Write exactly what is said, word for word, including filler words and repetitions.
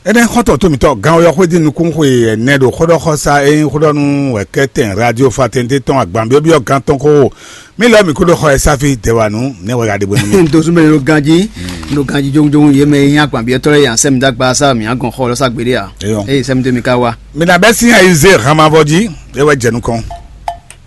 Énɛ́ xɔ́ntɔn tó mǐtɔn gán ɔ́ yɔxwé dín nukúnxwe ɛnɛ ɖo xóɖɔxɔ́sá e nyí xóɖɔnú wɛ kɛ́tɛn radio fatɛnte tɔn agbanbyɔ́byɔ́ gán tɔn xó. Mí lɔ mǐ kúɖó xɔ ɛ sáfí dɛwanu nɛ́ wɛ ɖagbe nú mì. Ntosúnbɛ ɖo ganjí, ɖo ganjí jógúnjógún yě mɛ e nyí agbanbyɔ́tɔ́ lɛ́ɛ yě asɛ́ mi dó agba sá mǐ agɔn xɔ lɔ sá gbeɖé a? Eyɔ. Eye sɛ́ mi dó mi ká wá. Mǐ ná bɛ́ sín ayi zé hanmavɔ jí, é wɛ jɛ nukɔn.